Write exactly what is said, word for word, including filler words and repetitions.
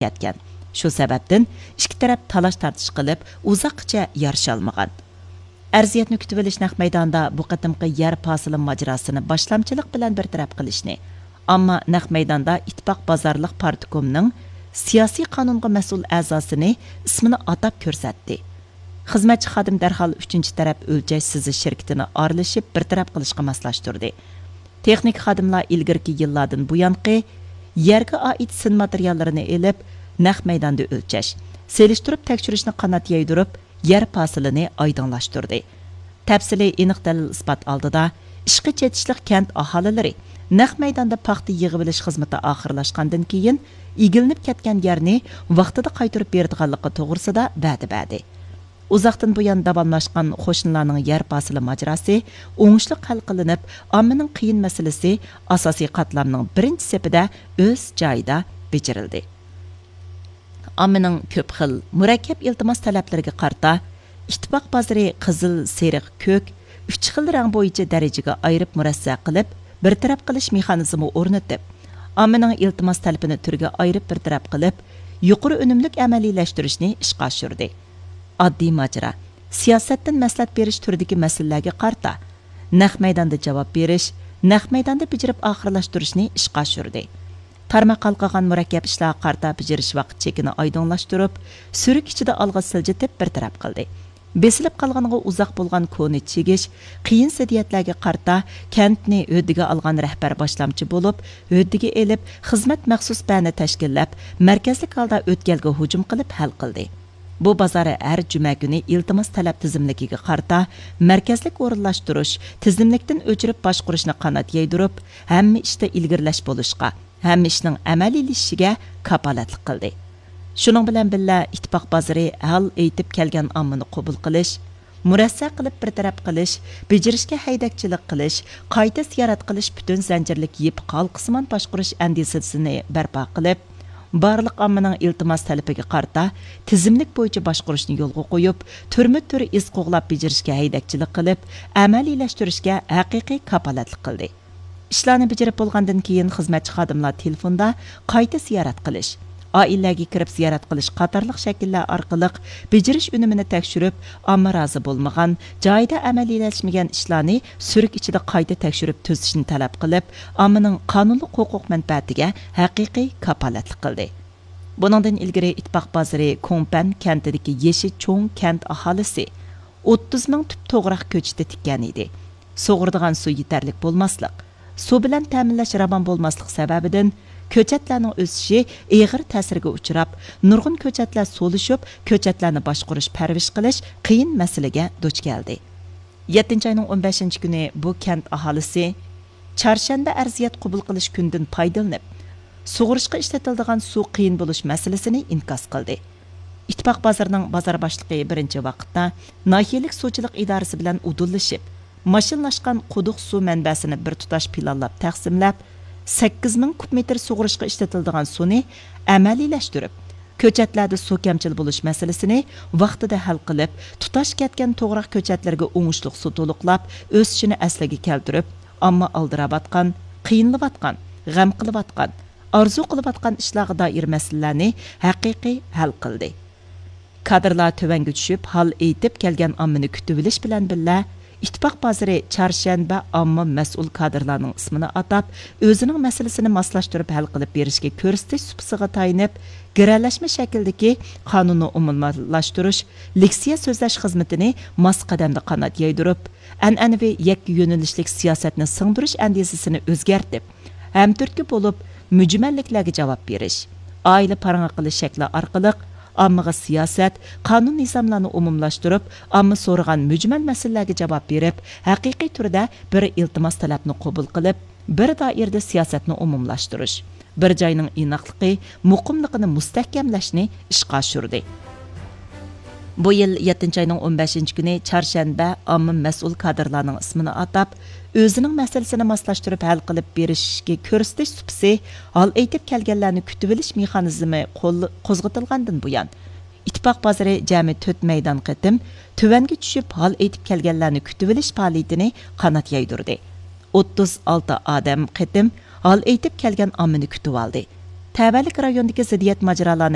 كەتكەن. شۇ سەۋەبتىن ئىككى تەرەپ تالاش-تارتىش قىلىپ، ئۇزاققىچە يارىشالمىغان. ئەرزىيەتنى كۈتۈۋېلىش نەق مەيدانىدا بۇ قېتىمقى يەر پاسىلى ماجىراسىنى باشلامچىلىق بىلەن بىر تەرەپ قىلىشنى، ئامما نەق مەيداندا ئىتتىپاق بازارلىق پارتكومنىڭ سىياسىي قانۇنغا مەسئۇل ئەزاسىنى ئىسمىنى ئاتاپ كۆرسەتتى. خىزمەتچى خادىم دەرھال ئۈچىنچى تەرەپ ئۆلچەش سىزىش شىركىتىنى ئارىلىشىپ بىر تەرەپ قىلىشقا ماسلاشتۇردى. تېخنىك خادىملار ئىلگىرىكى يىللاردىن بۇيانقى يەرگە ئائىت سىن ماتېرىياللىرىنى ئېلىپ، نەق مەيداندا ئۆلچەش، سېلىشتۇرۇپ تەكشۈرۈشنى قانات يايدۇرۇپ، يەر پاسىلىنى ئايدىڭلاشتۇردى. تەپسىلىي ئېنىق دەلىل-ئىسپات ئالدىدا ئىشقا چېتىشلىق كەنت ئاھالىلىرى نەق مەيداندا پاختا يىغىۋېلىش خىزمىتى ئاخىرلاشقاندىن كېيىن، ئىگىلىنىپ كەتكەن يەرنى ۋاقتىدا قايتۇرۇپ بېرىدىغانلىقى توغرىسىدا ۋەدە بەردى. ئۇزاقتىن بۇيان داۋاملاشقان قوشنىلارنىڭ يەر پاسىلى ماجىراسى ئوڭۇشلۇق ھەل قىلىنىپ، ئاممىنىڭ قىيىن مەسىلىسى ئاساسىي قاتلامنىڭ بىرىنچى سېپىدە ئۆز جايىدا بېجىرىلدى. ئاممىنىڭ كۆپ خىل مۇرەككەپ ئىلتىماس تەلەپلىرىگە قارىتا، ئىتتىپاق بازىرى قىزىل، سېرىق، كۆك ئۈچ خىل رەڭ بويىچە دەرىجىگە ئايرىپ مۇرەسسە قىلىپ، بىر تەرەپ قىلىش مېخانىزمى ئورنىتىپ، ئاممىنىڭ ئىلتىماس تەلىپىنى تۈرگە ئايرىپ بىر تەرەپ قىلىپ، يۇقىرى ئۈنۈملۈك ئەمەلىيلەشتۈرۈشنى ئىشقا ئاشۇردى. ئاددىي ماجىرا، سىياسەتتىن مەسلىھەت بېرىش تۈرىدىكى مەسىلىلەرگە قارىتا، نەق مەيداندا جاۋاب بېرىش، نەق مەيداندا بېجىرىپ ئاخىرلاشتۇرۇشنى ئىشقا ئاشۇردى. تارماق ھالقىغان مۇرەككەپ ئىشلارغا قارىتا بېجىرىش ۋاقىت چېكىنى ئايدىڭلاشتۇرۇپ، سۈرۈك ئىچىدە ئالغا سىلجىتىپ بىر تەرەپ قىلدى. بېسىلىپ قالغىنىغا ئۇزاق بولغان كونا چىگىش، قىيىن زىددىيەتلەرگە قارىتا كەنتنى ھۆددىگە ئالغان رەھبەر باشلامچى بولۇپ، ھۆددىگە ئېلىپ، خىزمەت مەخسۇس بەنى تەشكىللەپ، مەركەزلىك ھالدا ئۆتكەلگە ھۇجۇم قىلىپ ھەل قىلدى. بۇ بازار ھەر جۈمە كۈنى ئىلتىماس تەلەپ تىزىملىكىگە قارىتا مەركەزلىك ئورۇنلاشتۇرۇش، تىزىملىكتىن ئۆچۈرۈپ باشقۇرۇشنى قانات يايدۇرۇپ، ھەممە ئىشتا ئىلگىرىلەش بولۇشقا، ھەممە ئىشنىڭ ئەمەلىيلىشىشىگە كاپالەتلىك قىلدى. شۇنىڭ بىلەن بىللە، ئىتتىپاق بازىرى ھال ئېيتىپ كەلگەن ئاممىنى قوبۇل قىلىش، مۇرەسسە قىلىپ بىر تەرەپ قىلىش، بېجىرىشكە ھەيدەكچىلىك قىلىش، قايتا زىيارەت قىلىش پۈتۈن زەنجىرلىك يىپ ھالقىسىمان باشقۇرۇش ئەندىزىسىنى بەرپا قىلىپ، بارلىق ئاممىنىڭ ئىلتىماس تەلىپىگە قارىتا تىزىملىك بويىچە باشقۇرۇشنى يولغا قويۇپ، تۈرمە تۈر ئىز قوغلاپ بېجىرىشكە ھەيدەكچىلىك قىلىپ، ئەمەلىيلەشتۈرۈشكە ھەقىقىي كاپالەتلىك قىلدى. ئىشلارنى بېجىرىپ بولغاندىن كېيىن، خىزمەتچى خادىملار تېلېفوندا قايتا زىيارەت قىلىش، ئائىلىلەرگە كىرىپ زىيارەت قىلىش قاتارلىق شەكىللەر ئارقىلىق بېجىرىش ئۈنۈمىنى تەكشۈرۈپ، ئامما رازى بولمىغان، جايىدا ئەمەلىيلەشمىگەن ئىشلارنى سۈرۈك ئىچىدە قايتا تەكشۈرۈپ تۈزىتىشنى تەلەپ قىلىپ، ئاممىنىڭ قانۇنلۇق ھوقۇق مەنپەئەتىگە ھەقىقىي كاپالەتلىك قىلدى. بۇنىڭدىن ئىلگىرى ئىتتىپاق بازىرى كوڭپەن كەنتىدىكى يېشى چوڭ كەنت ئاھالىسى ئوتتۇز مىڭ تۈپ توغراق كۆچىتى تىككەن ئىدى. سۇغۇرىدىغان سۇ يېتەرلىك بولماسلىق، سۇ بىلەن تەمىنلەش راۋان بولماسلىق سەۋەبىدىن، كۆچەتلەرنىڭ ئۆسۈشى ئېغىر تەسىرگە ئۇچراپ، نۇرغۇن كۆچەتلەر سولىشىپ، كۆچەتلەرنى باشقۇرۇش، پەرۋىش قىلىش قىيىن مەسىلىگە دۇچ كەلدى. يەتتىنچى ئاينىڭ ئون بەشىنچى كۈنى بۇ كەنت ئاھالىسى چارشەنبە ئەرزىيەت قوبۇل قىلىش كۈنىدىن پايدىلىنىپ، سۇغۇرۇشقا ئىشلىتىلىدىغان سۇ قىيىن بولۇش مەسىلىسىنى ئىنكاس قىلدى. ئىتتىپاق بازىرىنىڭ بازار باشلىقى بىرىنچى ۋاقىتتا ناھىيەلىك سۇچىلىق ئىدارىسى بىلەن ئۇدۇللىشىپ، ماشىنىلاشقان قۇدۇق سۇ مەنبەسىنى بىر تۇتاش پىلانلاپ تەقسىملەپ، سەككىز مىڭ كۇب مېتىر سۇغۇرۇشقا ئىشلىتىلىدىغان سۇنى ئەمەلىيلەشتۈرۈپ، كۆچەتلەردە سۇ كەمچىل بولۇش مەسىلىسىنى ۋاقتىدا ھەل قىلىپ، تۇتاش كەتكەن توغراق كۆچەتلىرىگە ئوڭۇشلۇق سۇ تولۇقلاپ، ئۆسۈشىنى ئەسلىگە كەلتۈرۈپ، ئامما ئالدىراۋاتقان، قىينىلىۋاتقان، غەم قىلىۋاتقان، ئارزۇ قىلىۋاتقان ئىشلارغا دائىر مەسىلىلەرنى ھەقىقىي ھەل قىلدى. كادىرلار تۆۋەنگە چۈشۈپ، ھال ئېيتىپ كەلگەن ئاممىنى كۈتۈۋېلىش بىلەن بىللە، ئىتتىپاق بازىرى چارشەنبە ئامما مەسئۇل كادىرلارنىڭ ئىسمىنى ئاتاپ، ئۆزىنىڭ مەسىلىسىنى ماسلاشتۇرۇپ ھەل قىلىپ بېرىشكە كۆرسىتىش سۇپىسىغا تايىنىپ، گىرەلەشمە شەكىلدىكى قانۇننى ئومۇملاشتۇرۇش، لېكسىيە سۆزلەش خىزمىتىنى ماس قەدەمدە قانات يايدۇرۇپ، ئەنئەنىۋى يەككە يۆنىلىشلىك سىياسەتنى سىڭدۈرۈش ئەندىزىسىنى ئۆزگەرتىپ، ھەمتۈرتكە بولۇپ، مۈجمەللىكلەرگە جاۋاب بېرىش، ئائىلە پاراڭى قىلىش شەكلى ئارقىلىق ئاممىغا سىياسەت، قانۇن-نىزاملارنى ئومۇملاشتۇرۇپ، ئامما سورىغان مۈجمەل مەسىلىلەرگە جاۋاب بېرىپ، ھەقىقىي تۈردە بىر ئىلتىماس تەلەپنى قوبۇل قىلىپ، بىر دائىرىدە سىياسەتنى ئومۇملاشتۇرۇش، بىر جاينىڭ ئىناقلىقى، مۇقىملىقىنى مۇستەھكەملەشنى ئىشقا ئاشۇردى. بۇ يىل يەتتىنچى ئاينىڭ ئون بەشىنچى كۈنى چارشەنبە ئامما مەسئۇل كادىرلارنىڭ ئىسمىنى ئاتاپ، ئۆزىنىڭ مەسىلىسىنى ماسلاشتۇرۇپ ھەل قىلىپ بېرىشكە كۆرسىتىش سۇپىسى، ھال ئېيتىپ كەلگەنلەرنى كۈتۈۋېلىش مېخانىزمى قول-، قوزغىتىلغاندىن بۇيان، ئىتتىپاق بازىرى جەمئىي تۆت مەيدان قېتىم تۆۋەنگە چۈشۈپ، ھال ئېيتىپ كەلگەنلەرنى كۈتۈۋېلىش پائالىيىتىنى قانات يايدۇردى. ئوتتۇز ئالتە ئادەم قېتىم ھال ئېيتىپ كەلگەن ئاممىنى كۈتۈۋالدى. تەۋەلىك رايوندىكى زىددىيەت ماجىرالارنى